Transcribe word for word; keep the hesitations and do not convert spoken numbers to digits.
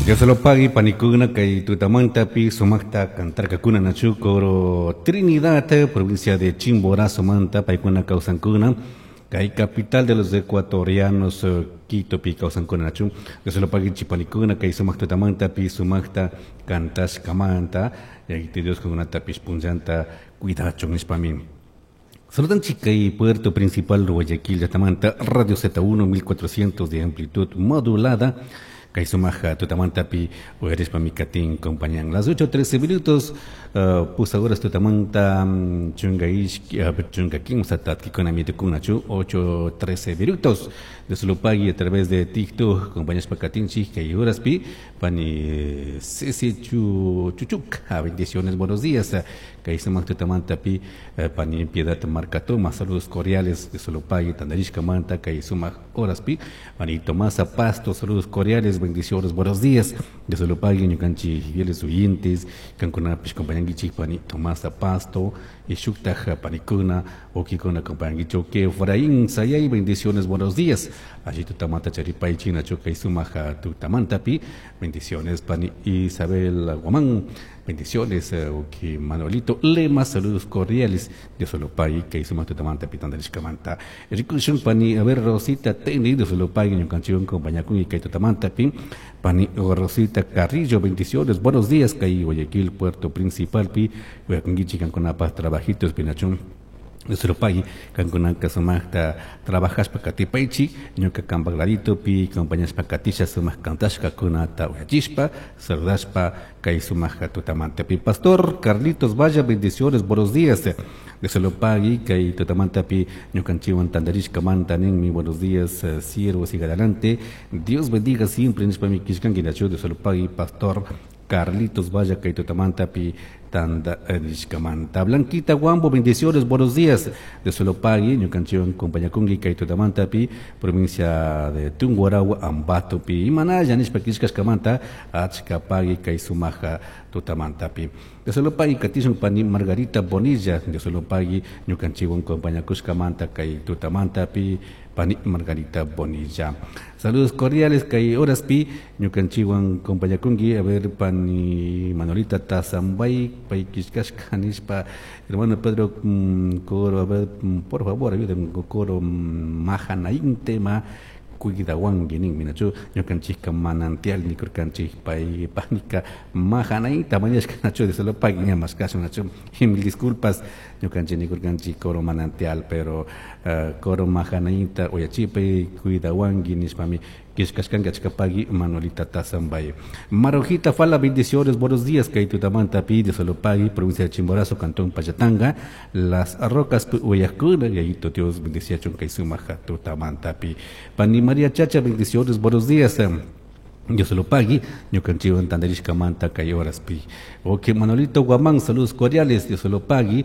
Dios se lo pague, panikuna kay tutamantapi sumaqta kantarkakuna nachu coro Trinidad, provincia de Chimborazo manta, paykuna kawsankuna, kay capital de los ecuatorianos eh, Quito pi kawsankuna nachu. Dios se lo pague panikuna kay sumaq tutamantapi sumaqta kantashkamanta, Yayito Dios kankunatapish punllanta cuidachun nishpami. Saludan kay puerto principal Guayaquil llaqtamanta Radio Z uno mil cuatrocientos de amplitud modulada. Kay sumaja tutamantapi uyarishpami katin compañan. Las ocho trece minutos, uh, pusaq horas tutamanta um, chunka ishki, uh, chunka kimsa tatkikuna mitukunachu, ocho trece minutos. De Solopagui a través de TikTok, compañashpa katinchik kay horaspi, pani Ceci Chu, Chuchuk, bendiciones, buenos días. Kay sumaq tutamantapi, eh, pani Piedad Marcatoma, saludos cordiales de Solopagui, tandarishkamanta, kay sumaq horaspi, pani Tomasa Pasto, saludos cordiales, bendiciones, buenos días. De Solopagui, ñukanchik fieles oyentes, kankunapish compañankichik pani Tomasa Pasto, y shuktaj panikuna, wawkikuna compañankichik, que Efraín Sayay, bendiciones, buenos días. Allí tutamanta charipaychik nachu kay sumaja tutamantapi, bendiciones, pani Isabel Guamán, bendiciones, eh, Manuelito Lema, saludos cordiales de Solopay, kay sumaq tutamanta pitandarishkamanta. Rikushun pani, a ver, Rosita Teni, de Solopay, ñukanchikwan compañakun y kay tutamantapi, pani Rosita Carrillo, bendiciones, buenos días, kay Guayaquil, puerto principal, pi, uyakunkichik kankunapaj trabajitos, pinachun. Solopay, kankunaka sumaqta trabajashpa katipaychik, ñuka kanpak laditopi compañashpa katisha sumaq kantashkakunata uyachishpa, saludashpa kay sumaq tutamantapi. Pastor Carlitos Vaya, bendiciones, buenos días. De Solopagui, kay tutamantapi ñukanchikwan tandarishkamanta ninmi, buenos días, eh, siervos, siga adelante. Dios bendiga siempre, nishpami killkanki nachu de Solopagui, Pastor Carlitos Vaya, kay tutamantapi tanda nishkamanta. Blanquita Guambo, bendiciones, buenos días. De Solopagui, ñukanchikwan compañakunki kay tutamantapi, provincia de Tungurahua, Ambatopi. Imanalla nishpa killkashkamanta, achka pagui kay sumaja tutamantapi. De Solopagui katishun pani Margarita Bonilla, de Solopagui, ñukanchikwan compañakushkamanta kay tutamantapi, pani Margarita Bonilla. Saludos cordiales kay horaspi, ñukanchikwan compañakunki, a ver, pani Manolita Tazambay, pay killkashka nishpa, hermano Pedro mm, coro, a ver, mm, por favor, ayúdenme con coro mm, Mahanaim tema cuidawanki ninmi nachu ñukanchikka manantial nikurkanchik pay panika Mahanaimta mañashka nachu de Solopagui ña mashkashun nachu y mil disculpas, ñukanchik nikurkanchik coro Manantial, pero uh, coro Mahanaimta uyachipay cuidawanki nishpami killkashkanki achka pagui Manuelita Tazambay. Marojita Fala, bendiciones, buenos días, kay tutamanta pi de Solopagui, provincia de Chimborazo, cantón Pallatanga, Las Rocas uyakuna, Yayito Dios bendiciachun kay sumaja tutamanta pi. Pani María Chacha, bendiciones, buenos días. Dios se lo pague, ñukanchikwan tandarishkamanta kay horaspi. Ok, Manolito Guamán, saludos cordiales, Dios se lo pague.